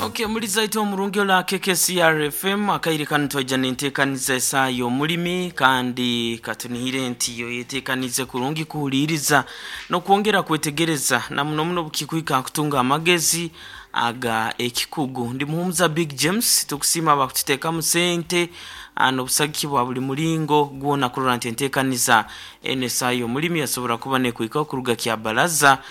Okay, muliza itwe omurungi ola KKCR FM. Akaire kanu twaija nenteekaniza esaaha y'omulimi, kandi katunihire nti oyeteekanize kurungi kuhuliiriza n'okwongera kwetegereza na muno muno bukikuhika kutunga amagezi aga ekikugu. Ndi Muhumuza Big James. Tukusiima abakututeekamu sente n'obusagiki bwa buli mulingo gwona kurora nti enteekaniza eno esaaha y'omulimi yasobora kuba nekuhikaho kuruga Kyabaraza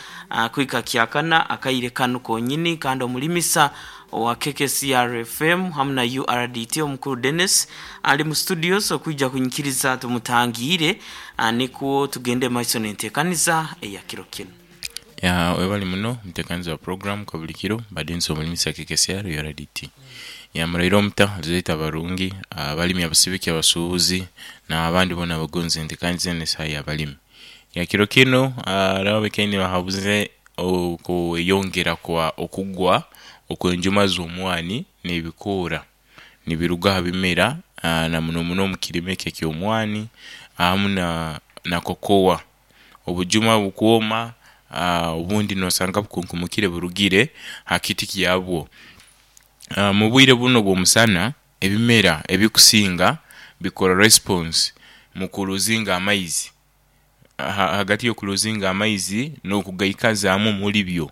kuhika Kyakana akaire kanu konyini. Kandi omulimisa owa KKCR FM hamu na URDT omukuru Dennis ali mu studios okwija kunyikiriza tumutangiire nikwo tugende maiso n'enteekaniza eya kiro kinu. Ya webale muno omutekanizi wa program kabulikiro mbade nsi omulimisa KKCR URDT. Ya muraire omuta zaitu abarungi, abalimi, abasibiki, abasubuzi n'abandi bona abagonza entekaniza enu esaha y'abalimi. Ya kiro kinu hariho abakaire bahabuze okweyongera kwa okugwa okw'enjuma z'omwani n'ebikoora nibiruga ha bimera na muno muno omu kirime eki eky'omwani hamu na kokowa. Obujuma bukwoma, obundi nosanga bukunkumukire burugire ha kiti kyabwo. Mubwire bunu obw'omusana ebimera ebikusinga bikora response mu kuluzinga amaizi, ahagati y'okuluzinga amaizi n'okugaikazaamu omuli byo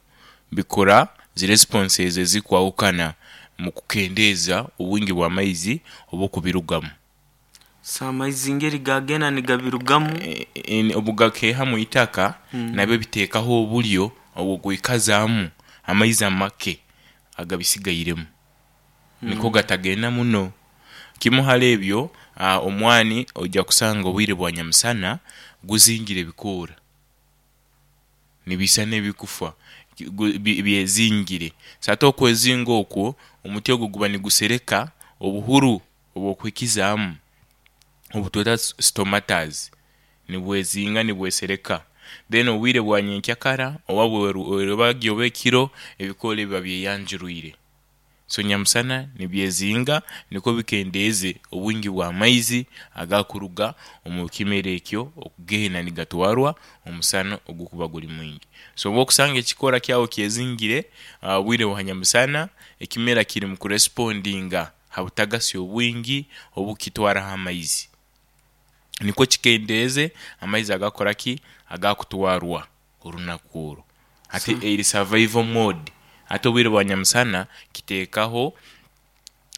bikora zi responses ezikwahukana mu kukendeeza obwingi bw'amaizi obukubirugamu. So amaizi ngeri gagenda nigabirugamu. Obugakeeha mwitaka nabyo biteekaho obulyo obw'okwikazaamu amaizi amake agabisigairemu niko gatagenda muno. Kimu hali ebyo, omwani oija kusanga obwire bwa nyamusana guzingire ebikoora nibisana ebikufa byezingire. So ate okwezinga okwo omuti ogwo guba nigusereka obuhuru obw'okwikizaamu obutweta stomatas nibwezinga nibwesereka. Then obwire bwa nyenkyakara oba bwerubagyo oba ekiro ebikoora ebyo biba byeyanjurwire. So nyamusana nibyezinga nikwo bikendeeze obwingi bw'amaizi agakuruga omu kimera ekyo okugenda nigatwarwa omusana ogukuba guri mwingi. So obwokusanga ekikoora kyawe kyezingire obwire bwa nyamusana, ekimera kiri mu kurespondinga ha butagasi obwingi obukukitwaraho amaizi nikwo kikendeeze amaizi agakukoraki agakutwarwa orunaku orwo. Hati eri survival mode, hati obwire bwa nyamusana kiteekaho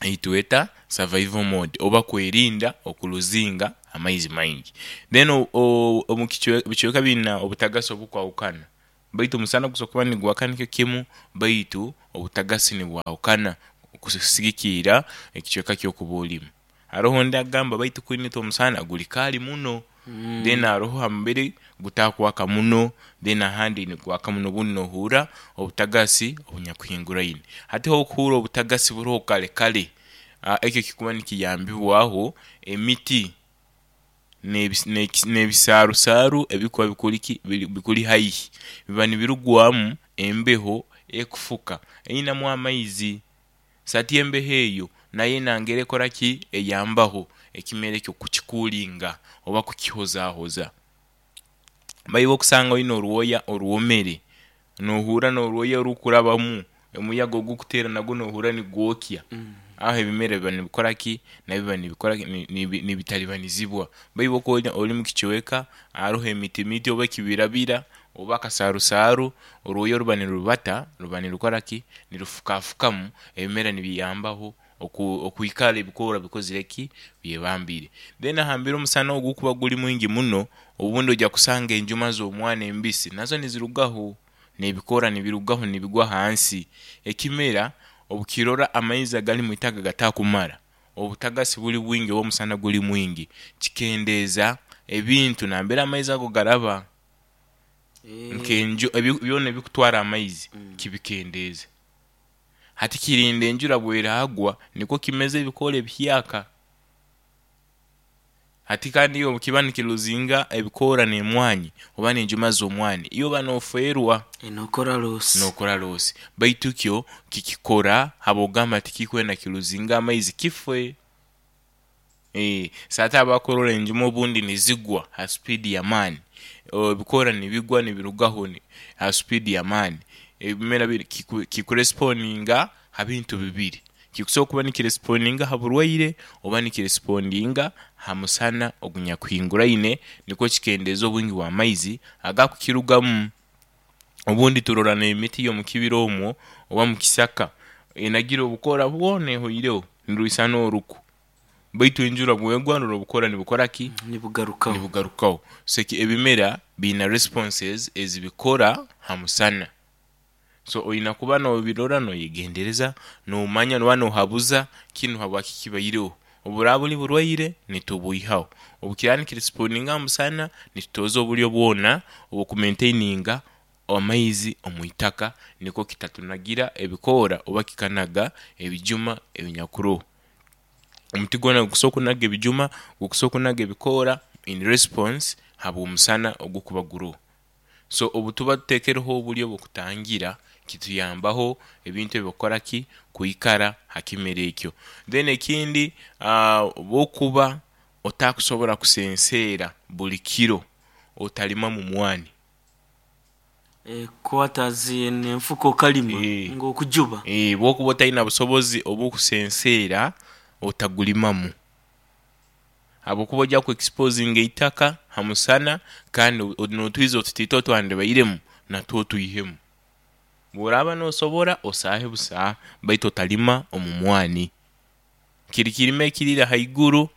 eitweta survival mode oba kwerinda okuluzinga amaizi maingi. Then omu bicweka biine obutagasi obukwahukana baitu omusana gusobola kuba nigwaka nikyo kimu baitu obutagasi nibwahukana okusigikiira ekicweka kyokuba orimu. Haroho ondi agamba baitu kunu itwe omusana guri kaali muno, then haroho hambere gutakwaka muno, then ahandi nigwaka muno obundi nohurra obutagasi obunyakuhinguraine. Hati obu okuhurra obutagasi buroho kare kare, ekyo kikuba nikiyambibwaho emiti n'ebisaalusaalu ebikuba bikuri ki bikuri haihi biba nibirugwamu embeho ekufuka einhamu amaizi. So ati embeho eyo nayo enanga ekora ki? Eyambaho ekimera ekyo kukikuulinga oba kukihozahoza. Baiwe okusanga oine orwoya orwomere, nohurra n'orwoya orukurabamu omuyaga ogukuteera nagwo nohurra nigwokya, aho ebimera biba nibikora ki? Nabyo biba nibikora ki? Nibitalibanizibwa. Baiwe okuba ori mukicweka aharoho emiti miti oba ekibirabira oba akasarusaaru, orwoya oruba nirubata ruba nirukora ki? Nirufukafukamu, ebimera nibiyambaho okwikara ebikoora bikozire ki? Byebambiire. Then ahambere omusana ogukuba guri mwingi muno, obundi oija kusanga enjuma z'omwana embisi nazo nizirugaho, n'ebikoora nibirugaho nibigwa hansi. Ekimera obukirora amaizi agali mwitaka gatakumara, obutagasi buri bwingi oba omusana guri mwingi, kikendeeza ebintu nambere amaizi ago garaba nk'enju byona ebikutwara amaizi kibikendeeza. Hati kirinda enjura bweragwa nikwo kimeze ebikoora ebihyaka. Hati kandi iwe obukiba nikiruzinga ebikoora n'emwanyi oba n'enjuma z'omwani, iwe oba nofeerwa. Nokora losi. Nokora losi. Baitu kyo kikikora habw'okugamba tikikwenda kiruzinge amaizi kife. So ate abakurora enjuma obundi nizigwa ha supiidi y'amaani, ebikoora nibigwa nibirugaho ha supiidi y'amaani, ebimera kikuresiponinga. Ha bintu bibiri, kikusobora kuba nikirespondinga ha burwaire oba nikirespondinga ha musana ogunyakuhinguraine, nikwo kikendeeze obwingi bw'amaizi agakukirugamu. Obundi turora n'emiti y'omukibira omwo oba mukisaka enagire obukoora bwona ehoireho niruisana oruku, baitu enjura bwegwa norora obukoora nibukora ki? Nibugarukaho. Nibugarukaho. So ebimera biina responses ezibikora ha musana, so oina kuba nobirora noyegendereza, nomanya oba nohabuza kinu habwaki kibaireho. Obu buraaba buli burwaire nitubwihaho, obu kiraaba nikirespondinga ha musana nitutoza oburyo bwona obw'okumaintaininga amaizi omwitaka nikwo kitatunagira ebikoora oba kikanaga ebijuma ebinyakuroho. Omuti gwona gukusobola kunaga ebijuma, gukusobola kunaga ebikoora in response habw'omusana ogukuba guroho. So obutuba tuteekereho oburyo bw'okutangira kituyambaho ebintu ebi okukora ki? Kwikara ha kimera ekyo. Then ekindi, obu okuba otakusobola kusenseera buli kiro, otalimamu mwani. Kwata zeena enfuka okalima nga okujuba. Bwokuba otaina busobozi obukusenseera, otagulimamu habwokuba oja kwexposinga eitaka ha musana kandi n'otwizi otutaito otwandibairemu natwo otwihemu. Bworaba nosobora osaahe busaaha baitu otalima omu mwani. Kiri kirime ekiriire haiguru,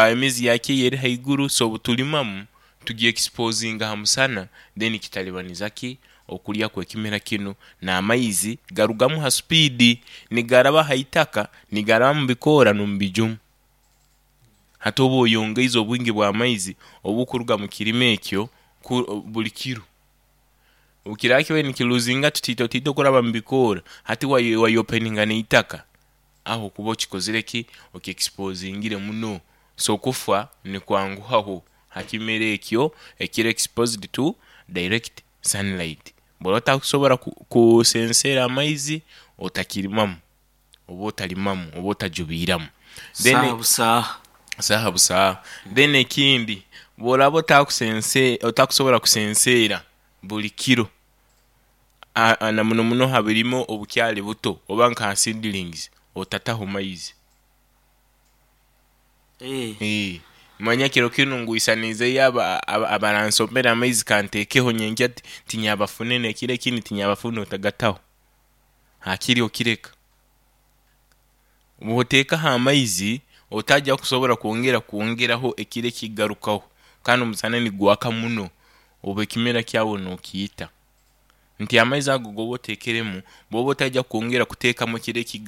emizi yakyo yo eri haiguru, so obutulimamu tugyexposinga ha musana then kitalibaniza ki? Okulya kw'ekimera kinu n'amaizi garugamu ha supiidi nigaraba ha itaka, nigaraba mu bikoora n'omu bijuma. Hati oba oyongeize obwingi bw'amaizi obukuruga mu kirime ekyo buli kiro. Obu kiraba kibaire nikiruzinga tutaito okuraba mu bikoora, hati wayopeninga n'eitaka, aho okuba okikozire ki? Okyexposingire muno. So okufa nikwanguhaho ha kimera ekyo ekiri exposed to direct sunlight. Bw'oba otakusobola kusenseera amaizi, otakirimamu oba otalimamu oba otajubiiramu. Then Saaha busaaha. Saaha busaaha. Then ekindi, bw'oraaba otakusobola kusenseera buli kiro, na muno muno ha birime obukyali buto oba nka ha seedlings, otataho maizi. Manya kiro kinu ngwisaniizeyo abaransombera amaizi kanteekeho nyenkya tinyabafune n'ekiro ekindi tinyabafune otagataho, hakiri okireka. Bw'oteekaho amaizi otaja kusobola kwongera kwongeraho ekiro ekigarukaho kandi omusana nigwaka muno oba ekimera kyawe n'okiita. Nti amaizi ago g'oba oteekeremu bw'oba otaija kwongera kuteekamu ekiro.